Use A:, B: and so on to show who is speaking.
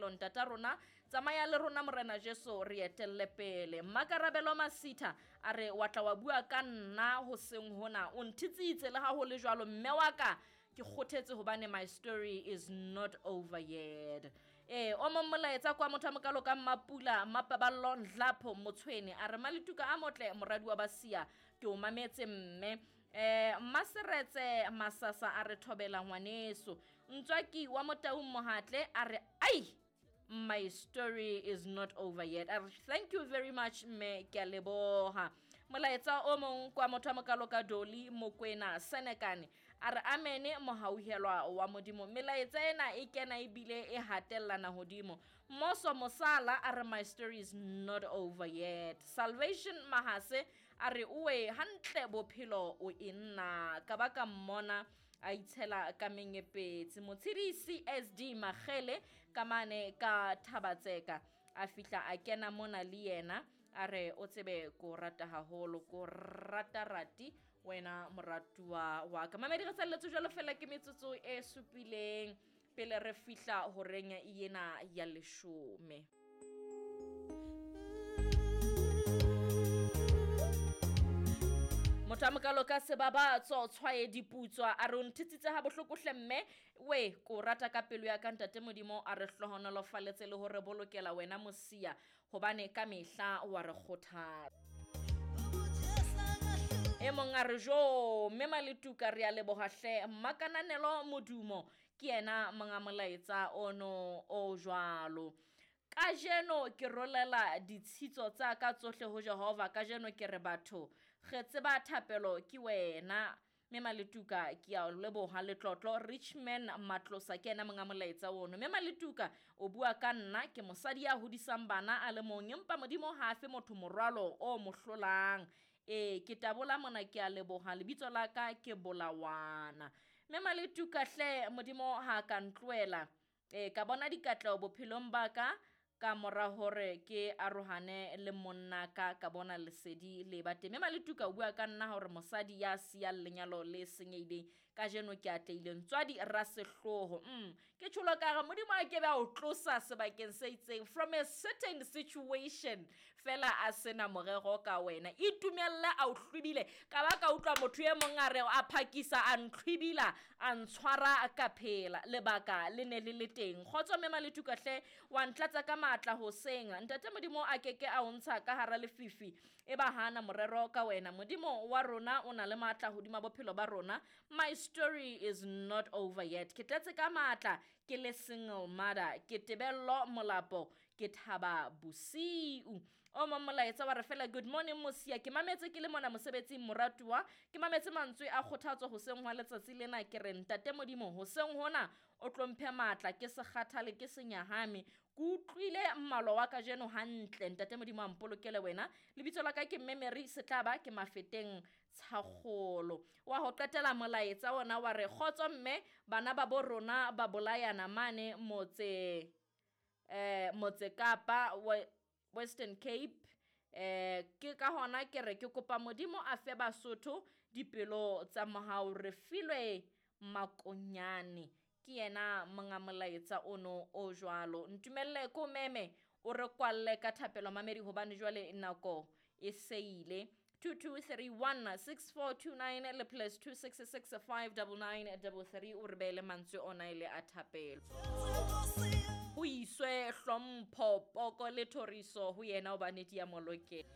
A: bophelo ntata rona tsamaya le rona morena Jesu re etelle pele. Mmakarabelo Masitha a re wa tla wa bua ka nna hoseng hona o nthitsitse le ha ho le jwalo mme wa ka ke kgothetse hobane my story is not over yet. Ee o mong molaetsa kwa motho a mokalo ka Mmapula Mmapaballo Nhlapho Motshwene a re Maletuka a motle moradi wa Basia ke o mametse mme. Mmaseretse Masasa a re thobela ngwaneso. Ntswaki wa Motaung Mohatle a re ai my story is not over yet. A re thank you very much mme ke a leboha. Molaetsa o mong kwa motho a mokalo ka Doli Mokwena Senekane a re amene mohauhelwa wa Modimo. Melaetsa ena e kena ebile e hatellana hodimo. Moso Mosala a re my story is not over yet. Salvation Mahase a re oe hantle bophelo o e nna ka ba ka mmona a itshela ka menyepetsi. Motshedisi SD Magele ka mane ka Thabatseka a fihla a kena mona le yena a re o tsebe ko rata haholo ko rata rati wena moratuwa wa ka. Mamedi re salletse jwalo fela ke metsotso e supileng pele re fihla horeng yena ya leshome. Motho a mokalo ka sebabatso tshwae diputswa a re o nthitsitse ha bohloko hle mme we ko rata ka pelo ya ka ntate Modimo a re hlohonolofaletse le hore bolokela wena mosia hobane ka mehla wa re kgothatsa. E mong a re jo mme Maletuka re a leboha hle Mmakananelo Modumo ke yena monga molaetsa ono o jwalo. Kajeno ke rolela ditshitso tsa ka tsohle ho Jehova kajeno ke re batho re tseba thapelo ke wena mme Maletuka ke a leboha letlotlo Richman Matlosa ke yena monga molaetsa ono. Mme Maletuka o bua ka nna ke mosadi ya hodisang bana a le mong empa Modimo ha a fe motho morwalo o mo hlolang. Ee ke tabola mona ke a leboha lebitso la ka ke Bolawana. Mme Maletuka hle Modimo ha ka ntlohela ka bona dikatleho bophelong ba ka ka mora hore ke arohane le monna ka ka bona lesedi le ba teng. Mme Maletuka o bua ka nna hore mosadi ya siyang lenyalo le senyehileng kajeno ke atlehile ntswadi rasehloho. Ke tjholo ka re Modimo a ke be a o tlosa sebakeng se itseng from a certain situation fela a sena morero ka wena. Itumelle a o hlwibile ka ba ka utlwa motho e mong a re a phakisa a ntlhwibila a ntshwara ka phela lebaka le ne le le teng. Kgotso mme Maletuka hle wa ntlatsa ka matla hoseng ntate Modimo a keke a o ntsha ka hara lefifi e ba hana morero ka wena. Modimo wa rona o na le matla hodima bophelo ba rona. My story is not over yet. Ke tletse ka matla ke le single mother ke Tebello Molapo ke thaba bosiu. O mong molaetsa wa re fela good morning mosia ke mametse ke le mona mosebetsing moratuwa ke mametse mantswe a kgothatso hoseng hwa letsatsi lena ke re ntate Modimo hoseng hona o tlo mphe matla ke se kgathale ke se nyahame ke utlwile mmalo wa kajeno hantle ntate Modimo a mpolokele wena. Lebitso la ka ke Mme Mary Setlaba ke Mafeteng Tshakgolo. Wa ho qetela molaetsa ona wa re kgotso mme bana ba bo rona ba bolayana mane motse motse Kapa Western Cape. Ke ka hona ke re ke kopa Modimo a fe Basotho dipelo tsa mohau re filwe makonyane. Ke yena monga molaetsa ono o jwalo. Ntumelle ko meme o re kwalle ka thapelo mamedi hobane jwale nako e seile. 2231 6429 le plus 266 59933 o re beele mantswe ona ile a thapelo. Ho iswe hlompho poko le thoriso ho yena hobane di a molokela.